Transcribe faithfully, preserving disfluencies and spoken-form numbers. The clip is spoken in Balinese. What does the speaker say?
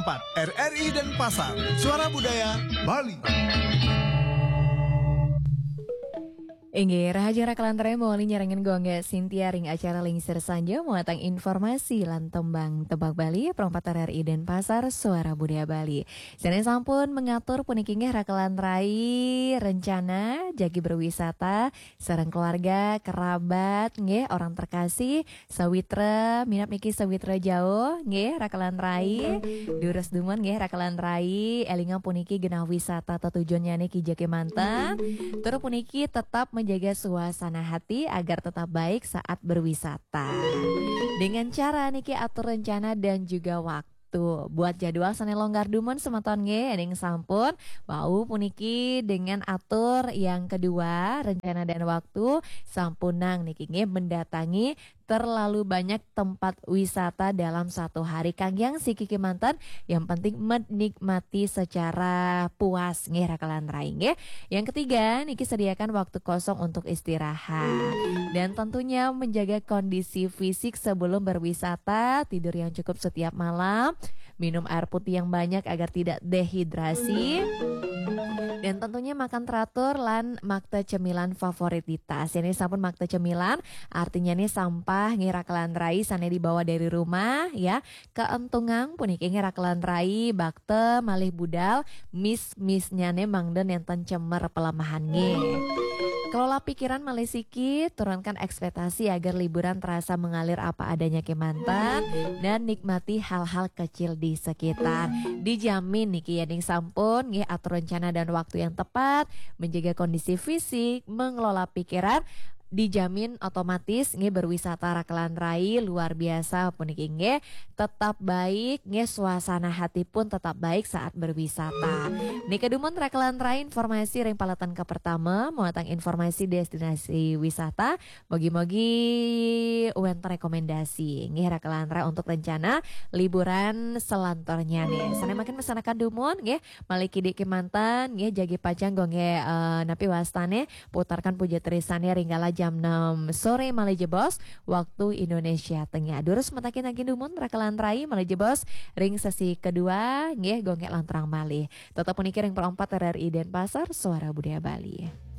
empat R R I Denpasar, Suara Budaya Bali. Inggih, rahajeng raka lan rai, mawali nyarengin Gung Gék Sintia ring acara Lingsir Sanja, muatan informasi lan tembang Tembang Bali, Pro empat R R I Denpasar, Suara Budaya Bali. Sané sampun mangatur puniki inggih raka lan rai, rencana jagi berwisata sareng keluarga, kerabat, nggih, orang terkasih, sawitra, minab niki sawitra jauh, nggih, raka lan rai. Durus dumun, nggih, raka lan rai, élingang puniki genah wisata tetujuannyané kija kémanten. Tur puniki tetap menjaga suasana hati agar tetap baik saat berwisata. Dengan cara niki atur rencana dan juga waktu. Buat jadwal sané longgar dumun semeton nggih, ning sampun wau puniki dengan atur yang kedua, rencana dan waktu, sampunang niki nggih mendatangi terlalu banyak tempat wisata dalam satu hari. Kanggiang siki kémanten, yang penting menikmati secara puas nggih raka lan rai nggih. Yang ketiga, niki sediakan waktu kosong untuk istirahat. Dan tentunya menjaga kondisi fisik sebelum berwisata, tidur yang cukup setiap malam, minum air putih yang banyak agar tidak dehidrasi. Dan tentunya makan teratur lan makta cemilan favorit. Ini sampun makta cemilan, artinya nih sampah nggih raka lan rai sané dibawa dari rumah ya. Kaentungang puniki nggih raka lan rai, bakta malih budal, mis-misnyané mangda nénten cemer pelemahan nggih. Kelola pikiran malih siki, turunkan ekspektasi agar liburan terasa mengalir apa adanya kémanten, dan nikmati hal-hal kecil di sekitar. Dijamin niki yéning sampun nggih atur rencana dan waktu yang tepat, menjaga kondisi fisik, mengelola pikiran, dijamin otomatis nggih berwisata raka lan rai luar biasa puniki nggih, tetap baik nggih, suasana hati pun tetap baik saat berwisata. Nika dumun raka lan rai, informasi ring paletan kapertama, muatan informasi destinasi wisata. Mogi-mogi wénten rekomendasi nggih raka lan rai untuk rencana liburan selantornyané. Sané mangkin mesanakan dumun nggih, malih kidik kémanten nggih, jagi pacang Gung Gék, eh, napi wastané, putarkan puja trisané ring kala jam enam sore malih jebos waktu Indonesia Tengah. Durus matakin lagi dumun raka lan rai, malih jebos ring sesi kedua nggih, Gung Gék lanturang malih. Tetap puniki ring Pro empat R R I Denpasar, Suara Budaya Bali.